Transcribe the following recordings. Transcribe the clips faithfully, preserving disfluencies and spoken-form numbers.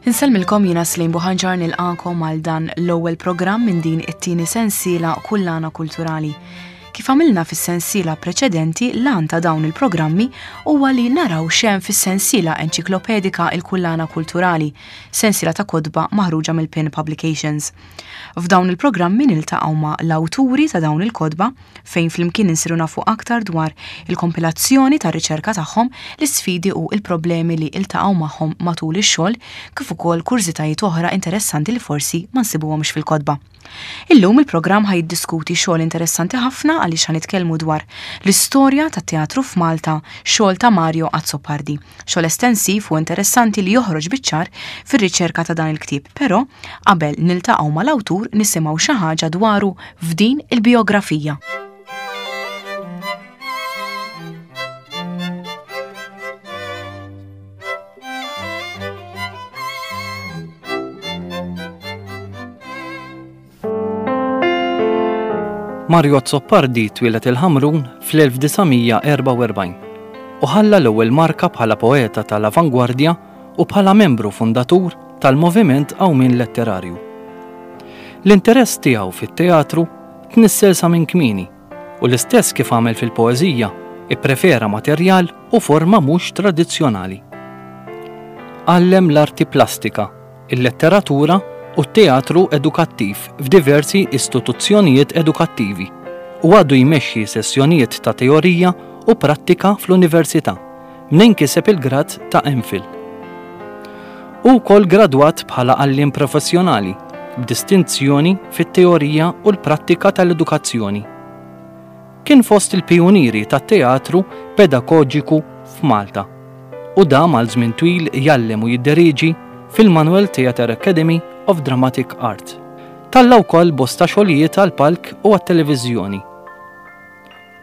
Insellmilkom, jiena Slim Buħanġar, nilqagħkom għal dan l-ewwel programm minn din it-tieni sensiela Kullana Kulturali. Kif għamilna fis-sensiela preċedenti, l-għan ta' dawn il-programmi huwa li naraw x'hemm fis-sensiela enċiklopedika Il-Kullana Kulturali, sensiela ta' kotba maħruġa mill-Pin Publications. F'dawn il-programmi niltaqgħu ma' l-awturi ta' dawn il-kotba, fejn flimkien insiru nafu aktar dwar il-kompilazzjoni tar-riċerka tagħhom, l-isfidi u il-problemi li iltaqgħu magħhom matul ix-xogħol, kif ukoll kurżitajiet oħra interessanti li forsi ma nsibuhomx fil-kotba. Illum il-programm ħa jiddiskuti xogħol interessanti ħafna, għaliex ħa nitkellmu dwar l-istorja tat-teatru f'Malta, xogħol ta' Mario Azzopardi. Xogħol estensiv u interessanti li joħroġ biċ-ċar fir-riċerka ta' dan il-ktieb, però qabel niltaqgħu mal-awtur nisimgħu xi ħaġa dwaru f'din il-biografija. Mario Azzopardi twieled il-Ħamrun fl-elf disa' mija erbgħa u erbgħin u ħalla l-ewwel marka bħala poeta tal-avangwardja u bħala membru fundatur tal-Moviment Qawmien Letterarju. L-interess tiegħu fit-teatru tnissel sa minn kmieni u l-istess kif għamel fil-poeżija, ipprefera materjal u forma mhux tradizzjonali. Għallem l-arti plastika, il-letteratura u t-teatru edukattiv f'diversi istituzzjonijiet edukattivi u għadu jmexxi sessjonijiet ta' teorija u prattika fl-università minn kiseb il-grad ta' M Phil. Hu wkoll gradwat bħala għalliem professjonali b'distinzjoni fit-teorija u l-prattika tal-edukazzjoni. Kien fost il-pioniri tat-teatru pedagogiku f'Malta u dam għal żmien twil jgħallem u jidderieġi fil-Manuel Theatre Academy of Dramatic Art. Tella' wkoll bosta xogħlijiet għal palk u għat-televiżjoni.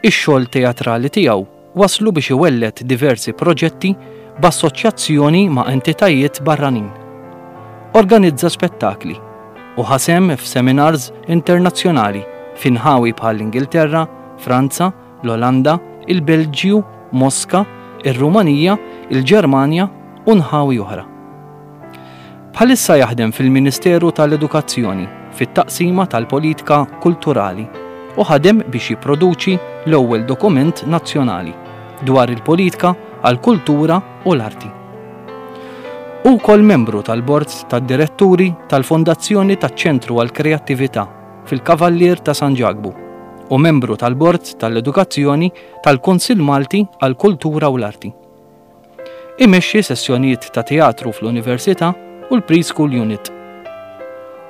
Ix-xogħol teatrali tiegħu waslu biex iwelled diversi proġetti b'assoċjazzjoni ma' entitajiet barranin. Organizza spettakli u ħa sehem f'seminars internazzjonali f'inħawi bħal Ingilterra, Franza, l-Olanda, il-Belġju, Moska, ir-Rumanija, il-Ġermanja u nħawi oħra. Bħalissa jaħdem fil-Ministeru tal-Edukazzjoni fit-taqsima tal-Politika Kulturali u ħadem biex jipproduċi l-ewwel dokument nazzjonali dwar il-politika għal-kultura u l-arti. Hu wkoll membru tal-Bord tad-Diretturi tal-Fondazzjoni taċ-Ċentru għall-Kreattività fil-Kavallier ta' San Ġakbu u membru tal-Bord tal-Edukazzjoni tal-Kunsill Malti għall-Kultura u l-Arti. Imexxi sessjonijiet ta' teatru fl-Università u l-Preschool Unit.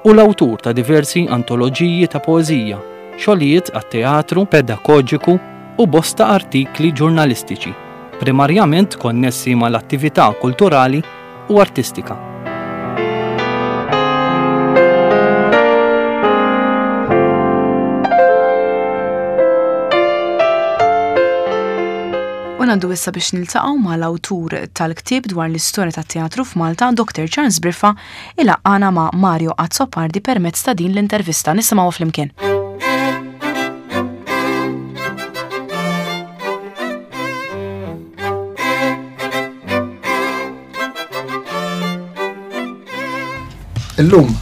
Hu l-awtur ta' diversi antoloġiji ta' poeżija, xogħlijiet għat-teatru pedagogiku u bosta artikli ġurnalistiċi, primarjament konnessi mal-attività kulturali u artistika. U ngħaddu issa biex niltaqgħu mal-awtur tal-ktieb dwar l-istorja tat-teatru f'Malta, Doctor Charles Briffa, ilaqqagħna ma' Mario Azzopardi permezz ta' din l-intervista. Nisimgħu flimkien. Illum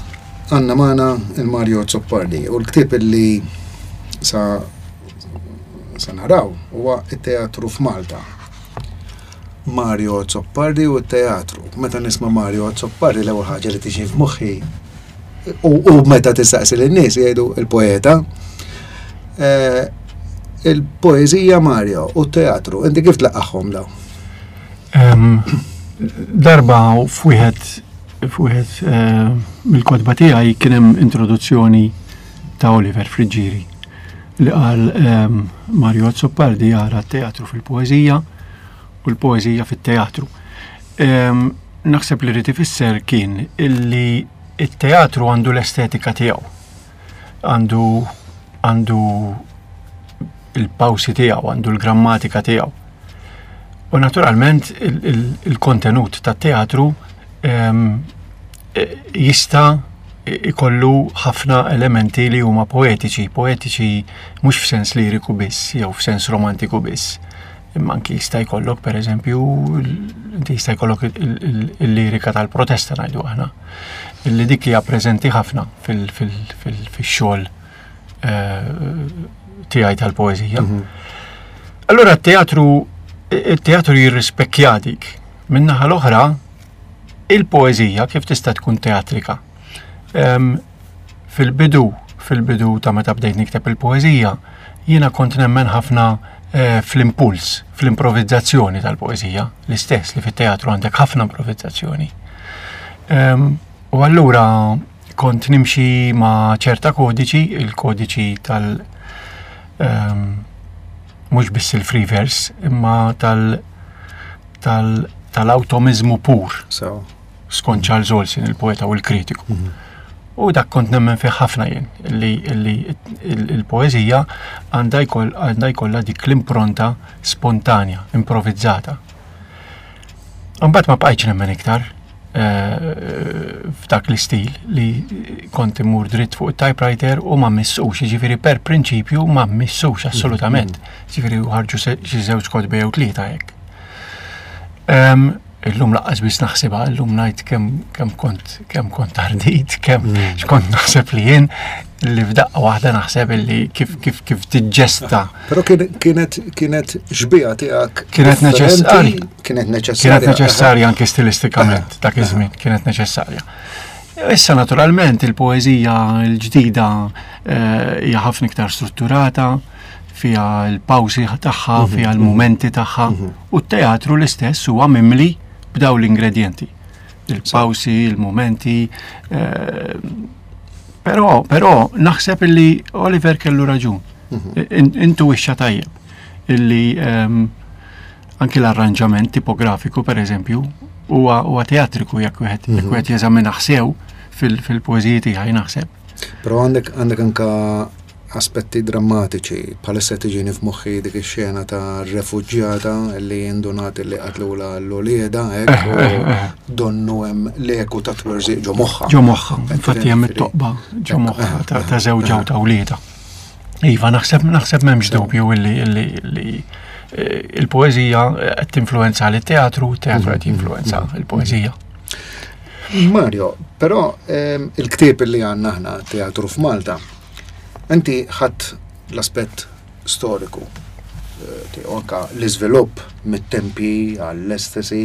għandna magħna il-Mario Azzopardi u l-ktieb li sa sa naraw huwa it-teatru f'Malta. Mario Azzopardi u t-teatru. Meta nisma' Mario Azzopardi, l-ewwel ħaġa li tiġi f'moħħi u, u meta tistaqsi lin-nies jgħidu il-poeta. Eh, il-poeżija Mario u t-teatru, inti kif tlaqqagħhom daw? Em, Darba f'wieħed f'wieħed eh, mill-kotba tiegħi kien hemm introduzzjoni ta' Oliver Friggieri li qal em, Mario Azzopardi jara t-teatru fil-poeżija u l-poeżija fit-teatru. Em, Naħseb li ried ifisser kien illi it-teatru għandu l-estetika tiegħu. Għandu għandu il-pawsi tiegħu, għandu l-grammatika tiegħu. U naturalment il-kontenut tat-teatru em, e, jista' ikollu ħafna elementi li huma poetiċi, poetiċi mhux f'sens liriku biss jew f'sens romantiku biss. Imma anki jista' jkollok pereżempju Inti jista' jkollok il-lirika tal-protesta, ngħidu aħna, illi dik hija preżenti ħafna fil-xogħol eh, tiegħi tal-poeżija. Mhm. Allura t-teatru il-teatru jirrispekkja dik. Min-naħa l-oħra, il-poeżija kif tista' tkun teatrika? Fil-bidu, fil-bidu ta' meta bdejt nikteb il-poeżija, jiena kont nemmen ħafna eh, fl-impuls, fl-improvizzazzjoni tal-poeżija, l-istess li fit-teatru għandek ħafna improvizzazzjoni. U allura kont nimxi ma' ċerta kodiċi, il-kodiċi tal- mhux biss il-free verse, imma tal tal tal-awtomizmu pur. So. Skont Charles Olson, il-poeta u l-kritiku. Mm -hmm. U dak kont nemmen fih ħafna jien, li il-poeżija għandha jkollha dik l-impronta spontanja, improvizzata. Mbagħad ma bqajtx nemmen iktar eh, f'dak l-istil li kont immur dritt fuq il-typewriter u ma mmissux, ġifieri per prinċipju ma mmissux assolutament. Ġifieri ħarġu xi żewġ kotba jew tlieta hekk. Illum lanqas biss naħsibha, illum ngħid kemm kemm kont kemm kont ardit, kemm mm. x'kont naħseb li jien li f'daqqa waħda naħseb li kif kif kif tiġġesta. Però kienet kienet xbieha tiegħek. Kienet neċessarja. Kienet neċessarja. Kienet neċessarja anke stilistikament dak iż-żmien, kienet neċessarja. Issa naturalment il-poeżija l-ġdida eh, hija ħafna iktar strutturata, fiha l-pawsi tagħha, mhm, fiha l-mumenti tagħha, mhm. u t-teatru l-istess huwa mimli b'daw l-ingredienti. Il-pawsi, il-momenti. Eh, però, però naħseb illi Oliver kellu raġun. Mhm. Intuwixxa tajjeb illi ehm, anki l-arranġament tipografiku, per eżempju, huwa teatriku jekk wieħed jekk wieħed jeżamina sew fil-poeżiji tiegħi, naħseb. Però għandek għandek anka aspetti drammatiċi, bħalissa tiġini f'moħħi dik ix-xena ta' refuġjata li indunat li qatlula l-ulieda, hekk, u donnu hemm l-eku ta' twerżiq ġo moħħa. Ġo moħħa, infatti hemm it-toqba ġo moħħa ta' żewġha u ta' ulieda. Iva, naħseb naħseb m'hemmx dubju illi illi eh, il-poeżija qed tinfluwenza lit-teatru, teatru qed jinfluwenza il-poeżija. Mario, però ehm, il-ktieb li għandna aħna, Teatru f'Malta, inti ħadd l-aspett storiku, eh, tiegħu, anka l-iżvilupp mit-tempi għall-estasi,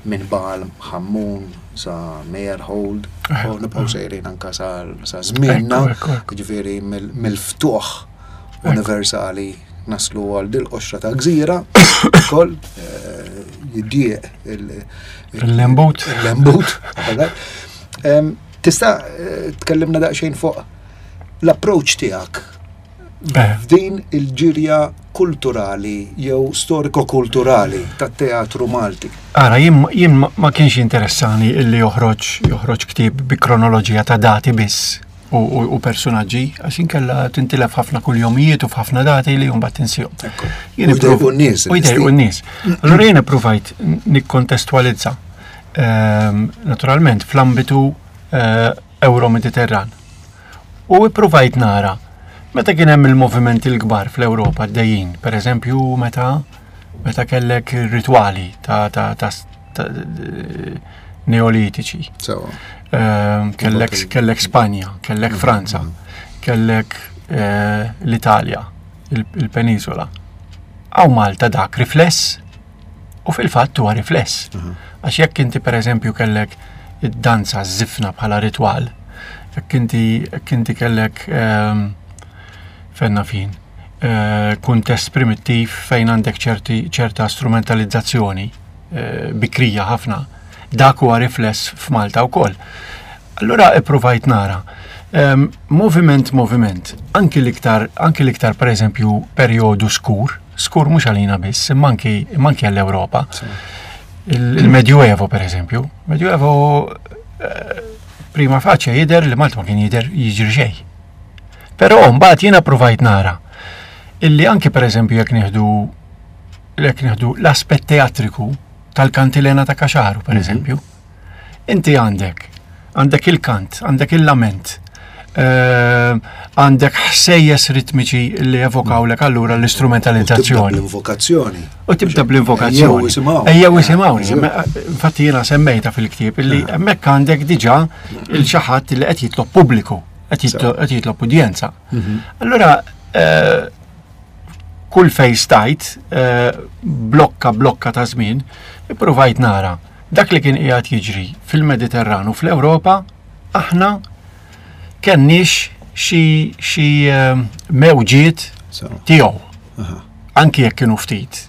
minn Baal Ħammun sa Meyerhold, u nibqgħu sejrin anka sa sa żmienna, Ekku, ekku, ekku. ġifieri mill- mill-ftuħ universali naslu għal dil-qoxra ta' gżira, ukoll eh, jiddieq il- Il-lembut. Il-lembut. Em, Tista' eh, tkellimna daqsxejn fuq l-approach tiegħek Eh, f'din il-ġirja kulturali jew storiko-kulturali tat-teatru Malti? Ara, jien jien ma- ma kienx interessani illi joħroġ joħroġ ktieb bi kronoloġija ta' dati biss u, u, u personaġġi, għax inkella tintilef ħafna kuljomijiet u f'ħafna dati li mbagħad tinsihom. Ekku. Jien U jdejqu ipprov- n-nies. U jdejqu n-nies. Allura jien ippruvajt nikkontestwalizza ehm, naturalment fl-ambitu eh, Euro-Mediterran. U ippruvajt nara meta kien hemm il-movimenti l-kbar fl-Ewropa għaddejjin, per eżempju meta meta kellek ritwali ta' ta' ta' ta' neolitiċi. Sewa. Ehm, kellek, kellek Spanja, kellek Franza, kellek eh, l-Italja, il- il-Penisola. Hawn Malta dak rifless u fil-fatt huwa rifless. Għax jekk inti per eżempju kellek id-danza żifna bħala ritwal, jekk inti jekk inti kellek ehm, fenna fin, eh, kuntest primittiv fejn għandek ċerti ċerta strumentalizzazzjoni eh, bikrija ħafna, dak huwa rifless f'Malta wkoll. Allura ippruvajt nara. Um, moviment, moviment, anki l-iktar, anki l-iktar per eżempju perjodu skur, skur mhux għalina biss, imma anki imma anki għall-Ewropa. Il- Il-Medjuevo per eżempju, Medjuevo eh, prima facie jidher li Malta ma kien jidher jiġri xejn. Però mbagħad jiena provajt nara illi anki per eżempju jekk nieħdu jekk nieħdu l-aspett teatriku tal-kantilena ta' Caxaro per eżempju, inti għandek għandek il-kant, għandek il-lament, eh, għandek ħsejjes ritmiċi li evokawlek allura l-istrumentalizzazzjoni. L-invokazzjoni. U tibda bl-invokazzjoni. Ejjew isimgħu. Ejjew isimgħuni. Infatti jiena semmejta fil-ktieb illi hemmhekk għandek diġà il xi ħadd li qed jitlob pubbliku, qed jitlob udjenza. Mhm. Allura eh, kull fej stajt, eh, blokka blokka ta' żmien, ippruvajt nara dak li kien qiegħed jiġri fil-Mediterranu fl-Ewropa, aħna kenniex xi xi ehm, mewġiet tiegħu. Anki jekk kienu ftit.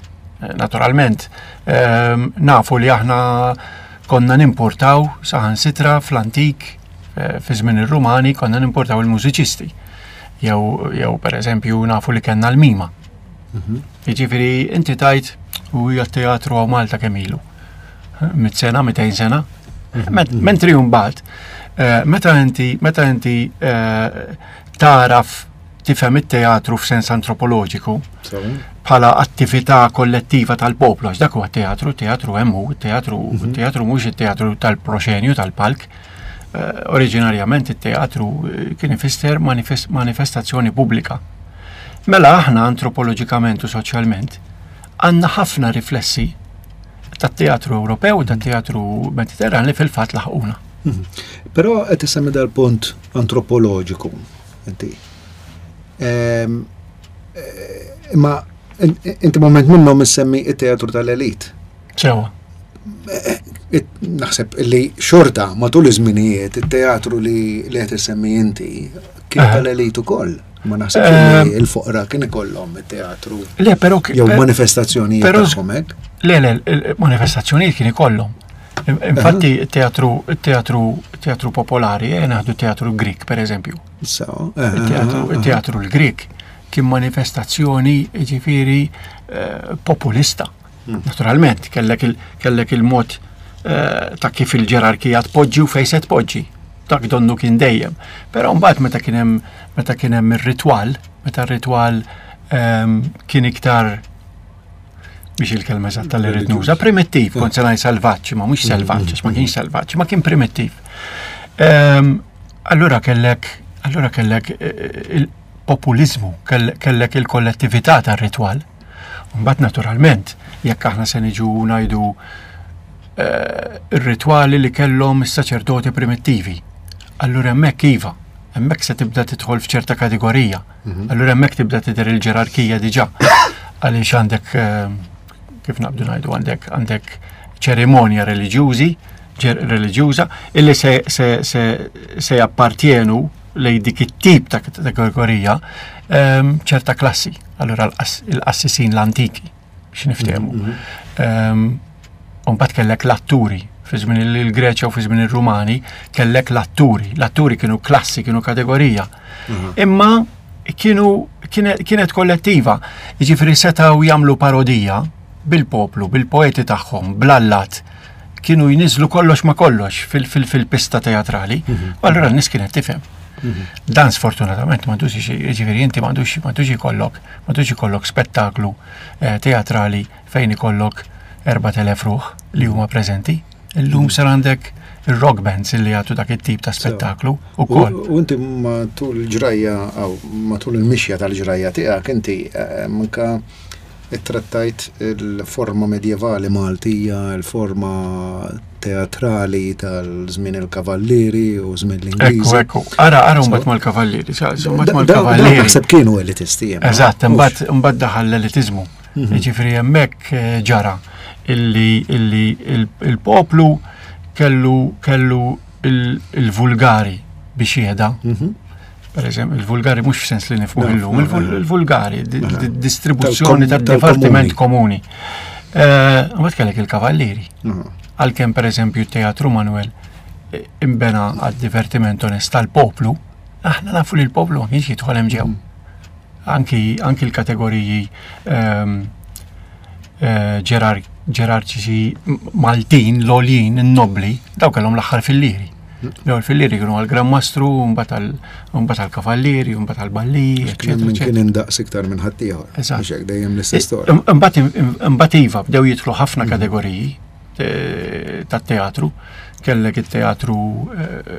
Eh, naturalment, ehm, nafu li aħna konna nimportaw saħansitra fl-antik eh, fi żmien ir-Rumani konna nimportaw il-mużiċisti. Jew jew pereżempju nafu li kellna l-mima. Mhm. Jiġifieri inti tajt u hija teatru hawn Malta kemm ilu. Mit sena, mitejn sena. Mhm. Mentri mbagħad Eh, meta inti meta inti eh, taraf tifhem it-teatru f'sens antropoloġiku bħala attività kollettiva tal-poplu, għax dak huwa teatru, teatru hemm hu, teatru mhm. teatru mhux it-teatru tal-proxenju tal-palk. Eh, oriġinarjament it-teatru kien ifisser manifestazzjoni pubblika. Mela aħna antropoloġikament u soċjalment għandna ħafna riflessi tat-teatru Ewropew u tat-teatru Mediterran li fil-fatt laħquna. Mhm. Però qed isemmi dal-punt antropoloġiku inti. Ehm, eh, imma inti moment minnhom issemmi it-teatru tal-elit. Sewa. Eh, eh, naħseb li xorta matul iż-żminijiet it-teatru li li qed issemmi inti kien tal-elit ukoll. Ma naħseb li il-foqra kien ikollhom it-teatru. Le, però jew manifestazzjonijiet tagħhom hekk. Le, le, manifestazzjonijiet kien ikollhom. Infatti, teatru, teatru, teatru popolari, eh, naħdu teatru Grik, per eżempju. So, teatru l-Grik kien manifestazzjoni ġifiri eh, populista. Hmm. Naturalment, kellek il-mod eh, ta' kif il-ġerarkija tpoġġi u fejn se tpoġġi. Dak donnu kien dejjem. Però mbagħad meta kien hemm meta kien hemm ir-ritwal, meta r-ritwal ehm, kien iktar biex il-kelma eżatta li rrid nuża, primittiv, kont se ngħid selvaġġ, ma mhux selvaġġ, għax ma kienx selvaġġ, ma kien primittiv. Ehm, allura kellek, allura kellek eh, eh, il-populizmu, kellek il-kollettività tar-ritwal. Mbagħad naturalment, jekk aħna se niġu ngħidu eh, ir-ritwali li kellhom is-saċerdoti primittivi. Allura hemmhekk iva, hemmhekk se tibda tidħol f'ċerta kategorija. Mhm. Allura hemmhekk tibda tidher il-ġerarkija diġà. Għaliex għandek ehm, kif naqbdu ngħidu għandek għandek ċerimonja reliġjużi reliġjuża illi se, se, se, se jappartjenu lej dik it-tip ta' kategorija ehm, ċerta klassi. Allura l-qassisin l-antiki biex niftehmu. Mhm, mhm. Ehm, u mbagħad kellek l-atturi fi żmien il-Greċja u fi żmien ir-Rumani kellek l-atturi. L-atturi kienu klassi, kienu kategorija. Mhm. Imma kienu kienet kollettiva. Jiġifieri setgħu jagħmlu parodija bil-poplu, bil-poeti tagħhom, bl-allat. Kienu jniżlu kollox ma kollox fil-pista teatrali. Mhm. U allura n-nies kienet tifhem. Mhm. Dan sfortunatament m'għandux jiġifieri inti m'għandux m'għandux ikollok m'għandux ikollok spettaklu eh, teatrali fejn ikollok erbat elef ruħ li huma preżenti. Illum sar għandek il-rock bands li jagħtu dak it-tip ta' spettaklu ukoll. U inti matul il-ġrajja matul il-mixja tal-ġrajja tiegħek inti eh, manka ittrattajt il-forma medjevali Maltija, il-forma teatrali tal-żmien il-Kavallieri u żmien l-Ingliżi. Ekku, ekku. Ara, ara mbagħad mal-Kavallieri, mbagħad mal-Kavallieri. Naħseb kienu elitisti. Eżatt, imbagħad imbagħad daħal l-elitiżmu. Mhm. Jiġifieri hemmhekk eh, ġara illi illi il-poplu kellu kellu il-vulgari biex jehda. Mhm. Per eżempju, il-vulgari mhux f'sens li nifhmu illum, il-vulgari, distribuzzjoni tad-divertiment komuni. Eh, mbagħad kellek il-kavallieri. Mhm. Għalkemm pereżempju t-Teatru Manuel eh, imbena għad-divertiment onest tal-poplu, aħna nafu li l-poplu ma kienx jidħol hemm ġew. Mhm. Anki, anki l-kategoriji ehm, eh, ġerarċiċi Maltin, l-għoljin, in-nobli, daw kellhom l-aħħar fil-liri. L-ewwel fil-liri kienu għall-Gran Mastru, mbagħad għall-Kavallieri, mbagħad għall-Balli, eċetera. Kien indaqs iktar minn ħaddieħor. Eżatt. Dejjem l-istess storja. Imbagħad iva bdew jidħlu ħafna mm. kategoriji eh, tat-teatru. Kellek it-teatru eh,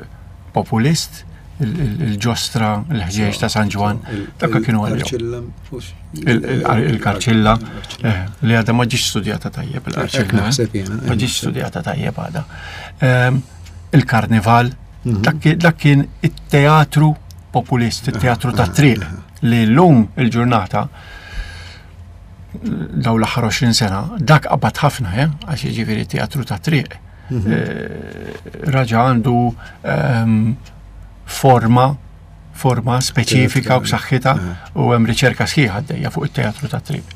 populist, Il-ġostra, il-ħġieġ ta' San Ġwann, dak kienu għalihom. Il-karċilla, eh, li għadha ma ġietx studjata tajjeb il-karċilla. Eh? Ma ġietx studjata tajjeb għadha. Ehm, il-karnival, mhm. dak kien it-teatru populist, it-teatru ta' triq li l-lum il-ġurnata daw l-aħħar għoxrin sena, dak qabad ħafna, eh, għax jiġifieri teatru ta' triq. Mhm. Eh, raġa għandu ehm, forma forma speċifika u b'saħħitha u hemm riċerka sħiħa għaddejja fuq it-teatru ta' triq.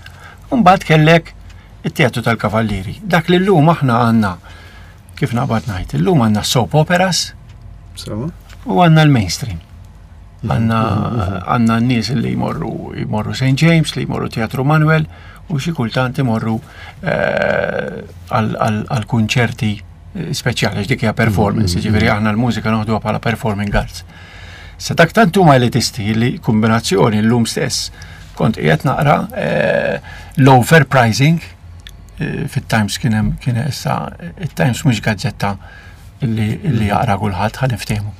Mbagħad kellek it-teatru tal-kavallieri. Dak li llum aħna għandna, kif naqbad ngħid, illum għandna soap operas u għandna l-mainstream. Għandna għandna n-nies li jmorru jmorru Saint James, li jmorru Teatru Manuel u xi kultant imorru eh, għal kunċerti speċjali, għax dik hija performance, ġifieri aħna l-mużika noħduha bħala performing arts. Sa dak tant huma elitisti li kombinazzjoni llum stess kont qiegħed naqra eh, l-overpricing eh, fit-Times. Kien hemm, kien issa it-Times mhux gazzetta li li jaqra kulħadd, ħa niftehmu.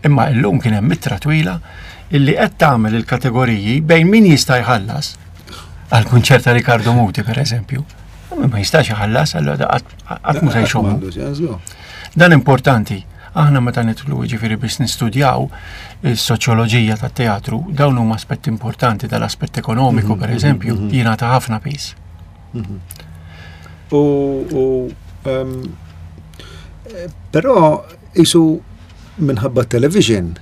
Imma illum kien hemm ittra twila illi qed tagħmel il-kategoriji bejn min jista' jħallas għal kunċert ta' Riccardo Muti, per eżempju. U min ma jistax jħallas, allura qatt mhu se jxommu. Dan importanti. Aħna meta nidħlu, ġifieri, biex nistudjaw is-soċjoloġija tat-teatru, dawn huma aspetti importanti, dal-aspett ekonomiku, per eżempju, jingħata ħafna piż. U, u um, eh, però jisu minħabba television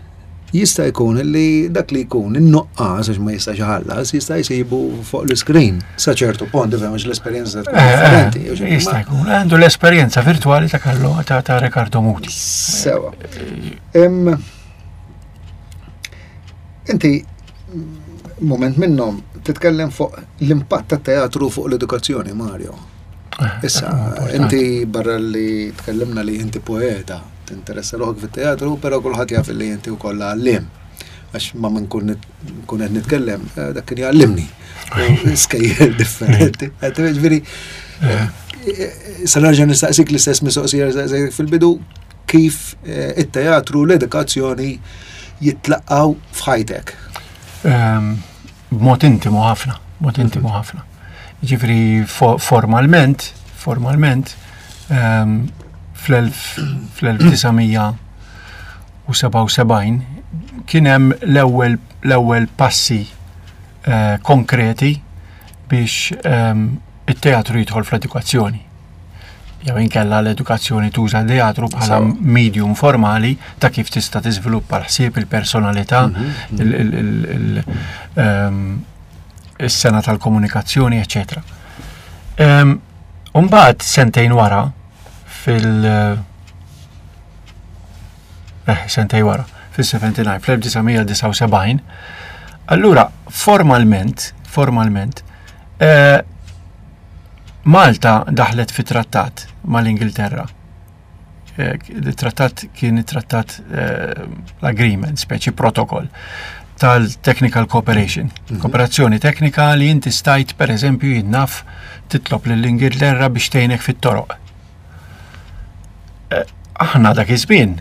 jista' jkun li dak li jkun in-nuqqas għax ma jistax iħallas jista' jsibu fuq l-screen sa ċertu punt, ifhem, għax l-esperjenza tkun Eh, eh, differenti. Jista' jkun. Għandu l-esperjenza virtuali ta' Carlo ta' ta' Riccardo Muti. Sewa. Em, Inti moment minnhom titkellem fuq l-impatt tat-teatru fuq l-edukazzjoni, Mario. Eh, Issa, dak huwa importanti. Inti barra li tkellimna li inti poeta, tinteressa ruħek fit-teatru, però kulħadd jaf li inti wkoll għalliem. Għax ma minn kun kun qed nitkellem, eh, dak kien jgħallimni. U skejjel differenti. Qed Ġifieri, eh, sa nerġa' nistaqsik l-istess mistoqsija li staqsejtek fil-bidu, kif eh, it-teatru u l-edukazzjoni jitlaqgħu f'ħajtek. Ehm, B'mod intimu ħafna, b'mod intimu ħafna. Ġifieri fo- formalment, formalment, ehm, fl-elf tisa mija u sebgħa u sebgħin kien hemm l-ewwel l-ewwel passi eh, konkreti biex ehm, it-teatru jidħol fl-edukazzjoni. Jew inkella l-edukazzjoni tuża teatru bħala Sewa. medium formali ta' kif tista' tiżviluppa l-ħsieb, il-personalità, il- il- il- il- ehm, is-sena tal-komunikazzjoni, eċċetera. Ehm, Umbagħad sentejn wara fil- eh, sentejn wara, fis-sebgħa u sebgħin, fl-elf tisa mija disgħa u sebgħin, allura formalment, formalment, eh, Malta daħlet fi trattat mal-Ingilterra. Eh, Il-trattat kien it-trattat, eh, l-agreement, speċi protocol tal-technical cooperation. Kooperazzjoni teknika li inti stajt, per eżempju, jien naf, titlob lill-Ingilterra biex tgħinek fit-toroq. Eh, Aħna dak iż-żmien,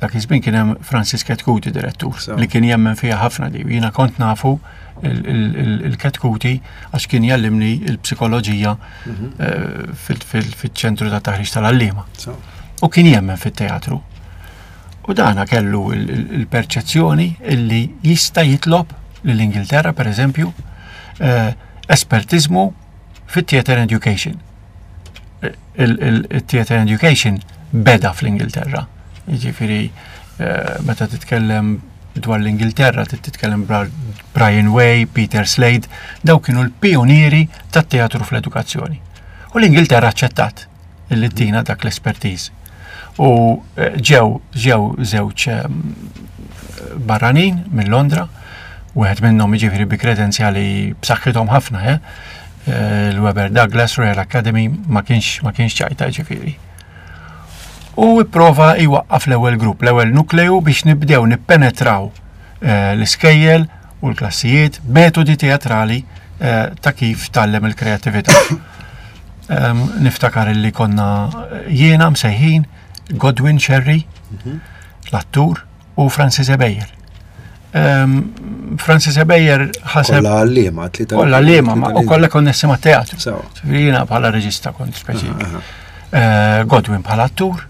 dak iż-żmien kien hemm Francis Chetcuti direttur So. li kien jemmen fiha ħafna di. Jiena kont nafu il-Chetcuti għax kien jallimni il-psikoloġija eh, fil- fil- fil-ċentru ta' taħriġ tal-għalliema. So. U kien jemmen fit-teatru. U dana kellu il- il- il-perċezzjoni illi jista' jitlob lill-Ingilterra, per eżempju, eh, espertizmu fit-theater education. Il-theater education beda fl-Ingilterra. Jiġifieri, eh, meta titkellem dwar l-Ingilterra, trid titkellem dwar Brian Way, Peter Slade, daw kienu l-pionieri tat-teatru fl-edukazzjoni. U l-Ingilterra aċċettat illi tina dak l-expertise. U eh, ġew ġew żewġ ehm, barranin minn Londra, wieħed minnhom, jiġifieri, bi kredenzjali b'saħħithom ħafna, eh? Eh, l-Webber Douglas Royal Academy, ma kienx ma kienx ċajta, ġifieri. U ipprova jwaqqaf l-ewwel grupp, l-ewwel nukleu biex nibdew nippenetraw eh, l-iskejjel u l-klassijiet metodi teatrali eh, ta' kif tgħallem il-kreatività. Em, Niftakar li konna jiena msejħin, Godwin Sherry, l-attur, u Francis Ebejer. Ehm, Francis Ebejer ħaseb. Kolla għallima, tlieta. Kolla għallima, u kolla konnessi ma' teatru. Jiena bħala reġista kont speċi. Eh, Godwin bħala attur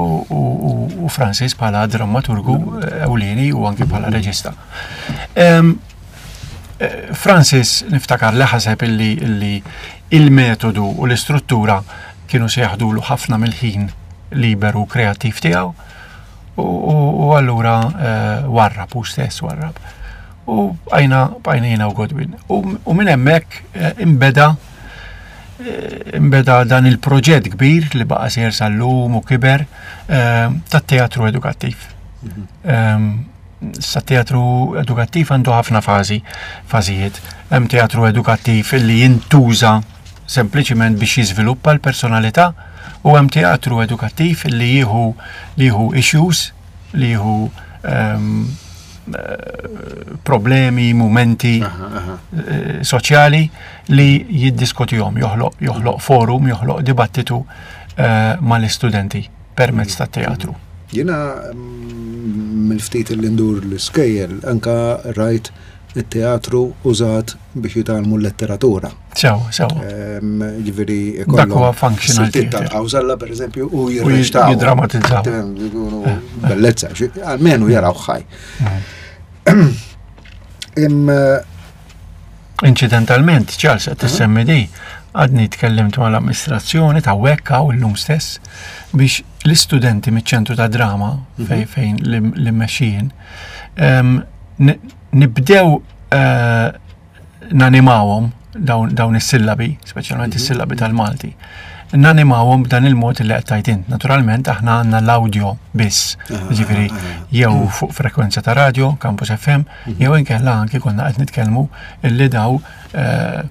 u Francis bħala drammaturgu eh, ewlieni u anki bħala reġista. Ehm, eh, Francis niftakar li ħaseb illi il-metodu u l-istruttura kienu se jaħdulu ħafna mill-ħin liberu kreattiv tiegħu u allura eh, warrab u stess warrab. U bqajna bqajna jiena u Godwin. U minn hemmhekk eh, imbeda eh, imbeda dan il-proġett kbir li baqa' sejjer sal-lum u kiber tat-teatru edukattiv. Mhm. Ehm, sa teatru edukattiv għandu ħafna fażi, fażijiet. Hemm teatru edukattiv li jintuża sempliċiment biex jiżviluppa l-personalità u hemm teatru edukattiv li jieħu li jieħu issues, li jieħu um, problemi, mumenti eh, soċjali li jiddiskutihom, joħloq joħloq forum, joħloq dibattitu uh, mal-istudenti permezz tat-teatru. Jiena mm, mill-ftit li ndur l-iskejjel anka rajt it-teatru użat biex jitgħallmu l-letteratura. Sew, sew. Ġifieri Dak huwa functional theater. Tal-qawżalla pereżempju u jirreċtaw. Jiddramatizzaw. Bellezza, almenu jaraw ħaj. Mm. Incidentalment, Charles, qed tissemmi di, għadni tkellimt mal-amministrazzjoni ta' Wekka u l-lum stess biex l-istudenti miċ-ċentru ta' drama mhm. fejn fejn l-immexxijin nibdew eh, nanimawhom dawn is-sillabi, speċjalment mhm. is-sillabi tal-Malti. Nanimawhom b'dan il-mod li qed tgħid int. Naturalment aħna għandna l-audio biss, ġifieri jew fuq frekwenza ta' radio, Campus F M, mhm. jew inkella anki konna qed nitkellmu illi daw eh,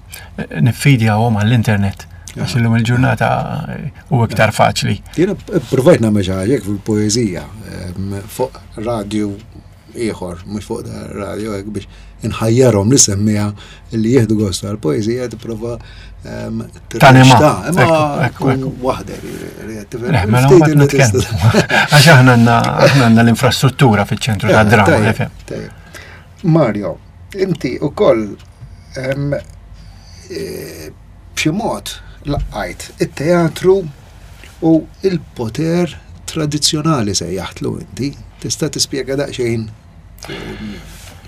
niffidjawhom għall-internet. Għax illum il-ġurnata u iktar faċli. Jiena provajt nagħmel xi ħaġa fil-poeżija fuq radio ieħor, mhux fuq da radio hekk biex inħajjarhom li semmija li jieħdu gost għall-poeżija tipprova Tanima. Imma tkun waħdek. Eh, mela mbagħad nitkellmu. Għax aħna għandna l-infrastruttura fiċ-ċentru ta' drama. Mario, inti ukoll e, b'xi mod laqajt it-teatru u il-poter tradizzjonali sejjaħtlu inti. Tista' tispjega daqsxejn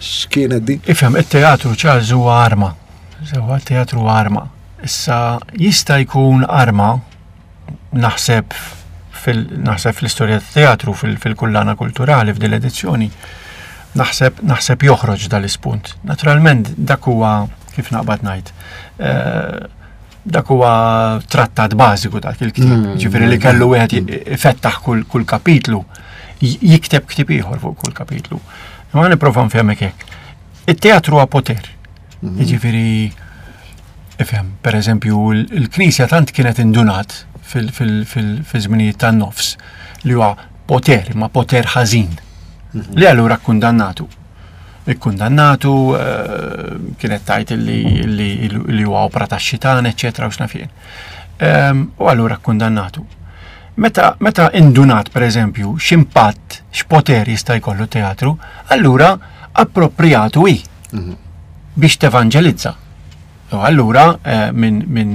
x'kienet din? Ifhem, it-teatru, Charles, huwa arma. Sewa, teatru huwa arma. Issa jista' jkun arma naħseb fil naħseb fl-istorja tat-teatru fil-kullana kulturali f'din l-edizzjoni naħseb naħseb joħroġ dal-ispunt. Naturalment dak huwa kif naqbad ngħid. Eh, dak huwa trattat bażiku dak il-ktieb. Mm. Ġifieri li kellu wieħed ifettaħ kull, kull kapitlu, jikteb ktieb ieħor fuq kull kapitlu. Ma nipprova nfehmek hekk. It-teatru huwa poter. Mm. Jiġifieri ifhem, per eżempju, il-Knisja tant kienet indunat fil-żminijiet tan-nofs li huwa poter, ma poter ħażin. Mhm. Li allura kkundannatu. Ikkundannatu, eh, kienet tajt li li huwa opra ta' xitan, eċċetera, u x'naf jien. Ehm, u allura kkundannatu. Meta, meta indunat, per eżempju, x'impatt, x'poter jista' jkollu teatru, allura appropriatu hi mhm. biex tevanġelizza. U allura eh, minn min,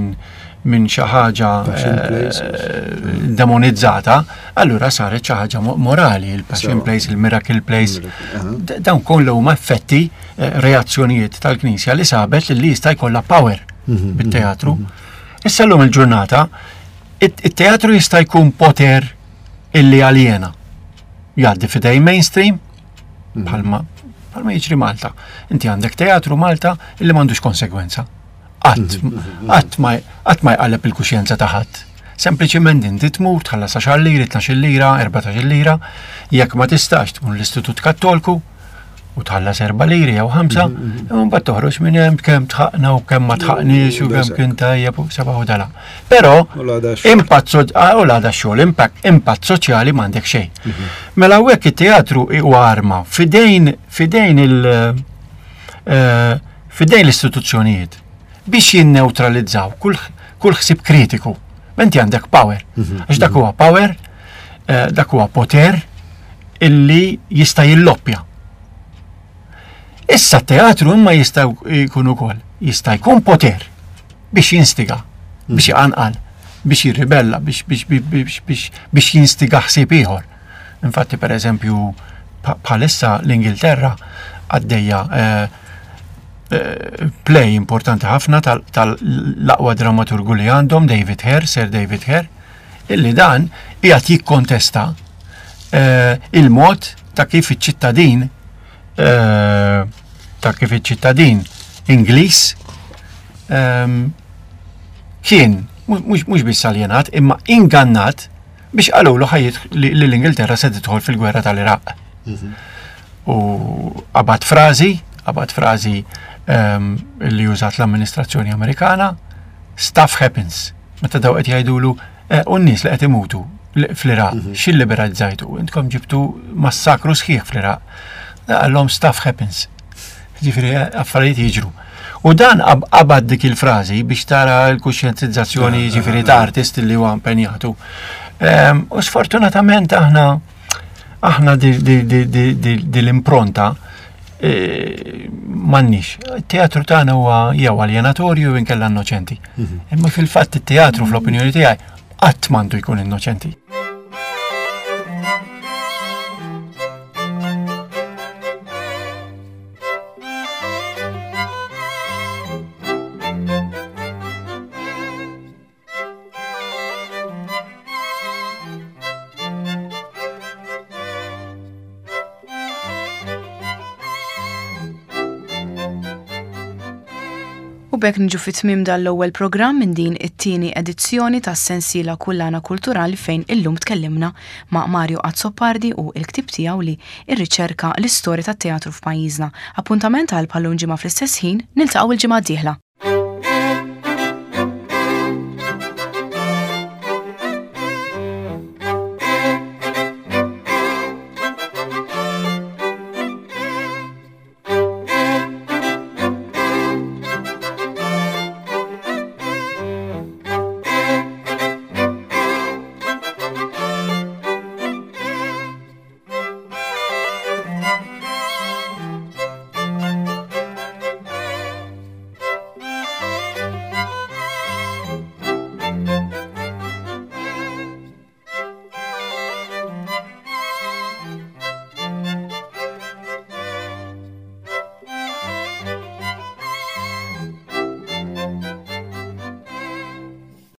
min xi ħaġa eh, demonizzata, allura saret xi ħaġa morali, il-Passion Plays, il-Miracle Plays. Dawn kollu huma effetti, eh, reazzjonijiet tal-Knisja li sabet li jista' jkollha power mhm, bit-teatru. Mhm, mhm. Issa llum il-ġurnata, it-teatru jista' jkun poter illi aljena. Jgħaddi fidej mainstream, bħalma bħalma jiġri Malta. Inti għandek teatru Malta illi m'għandux konsegwenza. Qatt qatt ma qatt ma jqalleb il-kuxjenza ta' ħadd. Sempliċiment inti tmur tħallas għaxar liri, tnax-il lira, erbatax-il lira, jekk ma tistax tmur l-Istitut Kattolku u tħallas erba' liri jew ħamsa, imma mbagħad toħroġ minn hemm kemm tħaqna u kemm ma tħaqniex u kemm kien tajjeb u seba' u dala. Però impatt ah, u l-għada xogħol, impatt impatt soċjali m'għandek xejn. Mela hawnhekk it-teatru huwa arma fidejn fidejn il eh, fidejn l-istituzzjonijiet biex jinneutralizzaw kull kull ħsieb kritiku. Menti għandek power. Għax dak huwa power, eh, dak huwa poter illi jista' jilloppja. Issa teatru imma jista' jkun ukoll, jista' jkun poter biex jinstiga, biex jqanqal, biex jirribella, biex biex biex biex biex jinstiga ħsieb ieħor. Infatti, per eżempju, bħalissa l-Ingilterra għaddejja eh, eh, play importanti ħafna tal-aqwa dramaturgu li għandhom, David Hare, Sir David Hare, illi dan qiegħed jikkontesta eh, il-mod ta' kif iċ-ċittadin ta' kif iċ-ċittadin Ingliż ehm, kien mhux biss aljenat imma ingannat biex qalulu ħajjit li l-Ingilterra se tidħol fil-gwerra tal-Iraq. Mhm. U qabad frażi, qabad frażi ehm, li użat l-amministrazzjoni Amerikana, "Stuff happens." Meta daw qed jgħidulu eh, u n-nies li qed imutu fl-Iraq, mhm. x'illiberalizzajtu? Intkom ġibtu massakru sħiħ fl-Iraq. Qallhom, "Stuff happens." Ġifieri affarijiet jiġru. U dan qabad dik il-frażi biex tara l-kuxjentizzazzjoni, ah, ġifieri ta' artist li huwa impenjatu. Ehm, u sfortunatament aħna aħna di l-impronta e, m'għandniex. Il-teatru tagħna huwa jew aljenatorju jew inkella innoċenti. Mhm. Imma fil-fatt it-teatru, fl-opinjoni tiegħi, qatt m'għandu jkun innoċenti. U b'hekk niġu fi tmiem dal-ewwel programm minn din it-tieni edizzjoni tas-sensiela Kullana Kulturali, fejn illum tkellimna ma' Mario Azzopardi u l-ktieb tiegħu li irriċerka l-istorja tat-teatru f'pajjiżna. Appuntament għal bħal-lum ġimgħa fl-istess ħin, niltaqgħu il-ġimgħa d-dieħla.